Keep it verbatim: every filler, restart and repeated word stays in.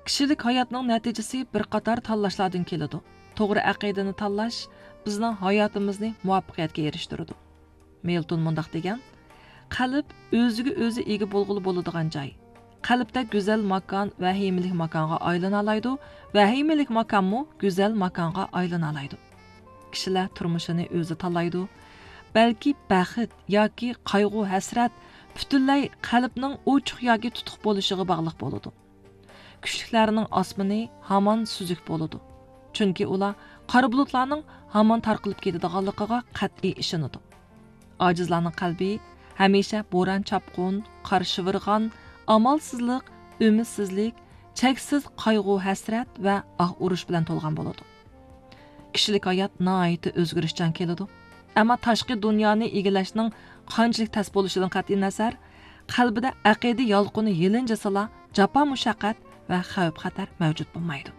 كىشىلىك ھاياتنىڭ نەتىجىسى بىر قاتار تاللاشلاردىن كېلىدۇ. توغرا ئەقىدىنى تاللاش بىزنىڭ ھاياتىمىزنى مۇۋەپپەقىيەتكە ئېرىشتۈرىدۇ. مىلتون مۇنداق دېگەن: «قەلب ئۆزىگە ئۆزى ئىگە بولغىلى بولىدىغان جاي. قەلبتە گۈزەل ماكان ۋەھىمىلىك ماكانغا ئايلىنالايدۇ، ۋەھىمىلىك ماكانمۇ گۈزەل ماكانغا ئايلىنالايدۇ.» كىشىلەر تۇرمۇشىنى ئۆزى تاللايدۇ. بەلكى بەخت ياكى قايغۇ-ھەسرەت پۈتۈنلەي قەلبنىڭ ئوچۇق ياكى تۇتۇق بولۇشىغا باغلىق بولىدۇ. كۈچلۈكلەرنىڭ ئاسمىنى ھامان سۈزۈك بولىدۇ. چۈنكى ئۇلار قارا بۇلۇتلارنىڭ ھامان تارقىلىپ كېتىدىغانلىقىغا قەتئىي ئىشىنىدۇ. ئاجىزلارنىڭ قەلبى ھەمىشە بوران-چاپقۇن، قار-شىۋىرغان، ئامالسىزلىق، ئۈمىدسىزلىك، چەكسىز قايغۇ-ھەسرەت ۋە ئاھ-ئۇرۇش بىلەن تولغان بولىدۇ. كىشىلىك ھايات ناھايىتى ئۆزگىرىشچان كېلىدۇ. ئەمما تاشقى دۇنيانى ئىگىلەشنىڭ قانچىلىك تەس بولۇشىدىن قەتئىينەزەر، قەلبىدە ئەقىدە يالقۇنى يېلىنجىسىلا، جاپا-مۇشەققەت ۋە خەۋپ-خەتەر مەۋجۇت بولمايدۇ.